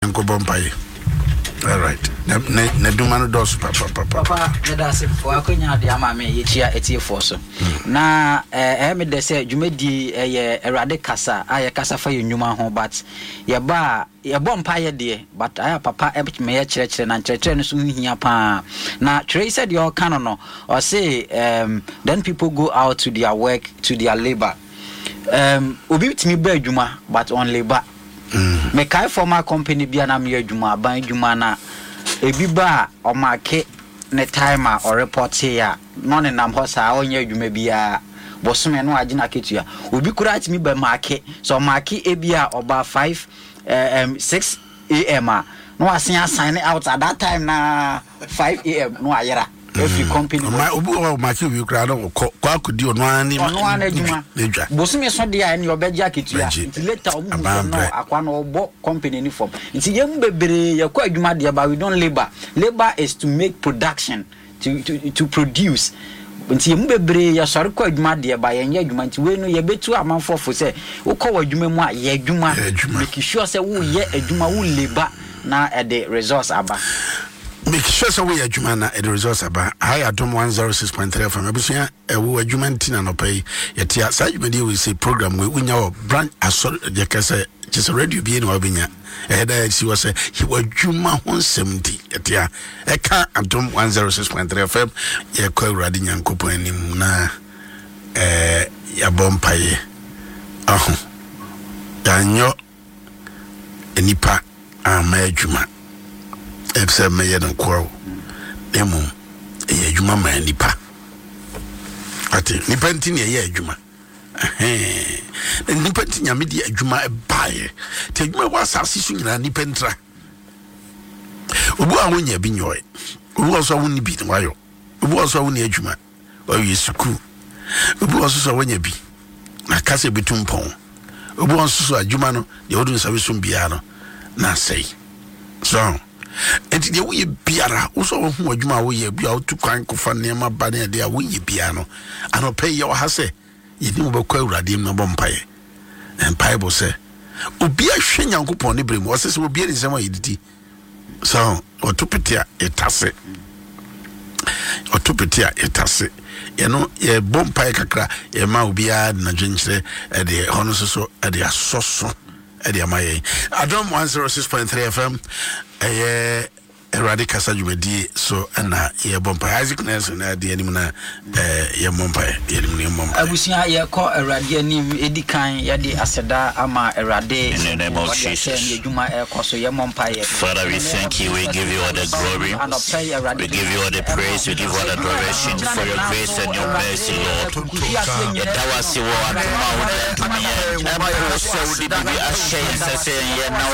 Nkɔbɔ mpaeɛ. Alright. Na na na duma no dɔɔso papapapa. Papa, meda ase wɔ akwanya ade ama me yɛkyia atiefoɔ so. Na ɛyɛ me dɛ sɛ dwumadie ɛyɛ Awurade kasa a yɛkasa fa yɛn nnwuma ho, but yɛba a yɛbɔ mpaeɛ deɛ, but ayɛ a papa ma yɛkyerɛkyerɛ na nkyerɛkyerɛ no so ho hia paa. Na twerɛ yi sɛdeɛ ɔka no, ɔse then people go out to their work, to their labour. Obi tumi ba adwuma but on labour. Mekae former company bi a na meyɛ adwuma, aban adwuma, na ebi ba a ɔmake ne time a ɔrepɔtee a na ɔnenam hɔ saa, ɔnyɛ adwuma biara. Bosome no agye n'akatua. Obi koraa tumi bɛ make, sɛ ɔmake ebi a ɔba 5 6 a.m. a, na wasen asign out at that time na 5 a.m. na wayera efiri company hɔ. Ɔma obi wɔ hɔ a ɔmake obi koraa na ɔkɔ kɔ akɔdi ɔno ara ne ɔno ara n'adwuma n'adwa. Bosome so deɛ a, ɛne ɔbɛgye akatua. Bɛgye. Nti later ɔmo hu sɛ Aban no brɛ. akwa no ɔbɔ company ni fam. Nti yɛn mu bebree yɛkɔ adwuma deɛ, but we don't labour. Labour is to make production, to produce. Nti yɛn mu bebree yɛsɔre kɔ adwuma deɛ, but yɛnyɛ adwuma. Nti wei no yɛbɛtu amanfoɔ fo sɛ wokɔ wɔ adwuma mu a, yɛ adwuma. Yɛ adwuma. Make sure sɛ woyɛ adwuma, wo labour na ɛde results aba. Make sure sɛ woyɛ adwuma na ɛde results aba. Ha yɛ Adom 106.3 FM. Abusua, ɛwo adwuma nti na nɔpɛ yi yɛte saa dwumadie wei sɛ program wei wonya wɔ branch asɔre yɛka sɛ kyɛ sɛ radio bie na wabɛnya. Ɛyɛ da asi hɔ sɛ yɛwɔ adwuma ho nsɛm nti yɛte a ɛka Adom 106.3 FM. Yɛkɔ Awurade Nyankopɔn anim na yɛabɔ mpaeɛ aho yɛanyɔ nipa amma adwuma sɛ mɛyɛ no nkoa o, na mmom ɛyɛ adwuma ma nipa ate. Nipa nti na ɛyɛ adwuma. Na nipa nti Nyame de adwuma baeɛ, nti adwuma ɛwɔ asase so nyinaa nipa ntira. Obi a wonya bi nyɔe, obi wɔ so a wonni bi na wayɔ, obi wɔ so a wonni adwuma wawie sukuu, obi wɔ so so a wanya bi na kasa ebitu mpɔn, obi wɔ nso so adwuma no deɛ wode nsa bɛsom biara no na asɛe so. Nti deɛ woyɛ biara, wo sɛ wohu adwuma a woyɛ bi a wotu kwan kɔfa nneɛma ba ne adeɛ a woyɛ biara no, anɔpɛ yi yɛwɔ ha sɛ yɛne wo bɛkɔ Awurade anim na bɔ mpaeɛ. Mpaebɔ sɛ obi ahwɛ Nyankopɔn ne berɛ mu, ɔsɛ sɛ obi ne nsɛm a yɛdidi so ɔto pete a yɛtase, ɔto pete a yɛtase. Yɛno yɛbɔ mpaeɛ kakra, yɛma obiara de n'adwenkyerɛ ɛde hɔ no nso so ɛde asɔ so ɛde ama yɛn. Adom 106.3 FM, ɛyɛ Awurade kasa dwumadie so ɛna yɛbɔ mpaeɛ. Isaac Nelson na ɛde anim na yɛmmɔ mpaeɛ, yɛnim no yɛmmɔ mpaeɛ. Abusua, yɛkɔ Awurade anim. Ɛdi kan yɛde aseda ama Awurade. In the name of ɔde akyɛ Jesus. ne adwuma ɛkɔ so. Yɛmmɔ mpaeɛ. Father, we thank you. We give you all the glory. We give you all the praise. We give you all the adoration for your grace and your mercy, Lord. Yɛda wo ase wɔ adom a wode adom yɛn. Ɛmpo sɛ wode biribi ahyɛ yɛn nsa sɛ yɛnyɛ na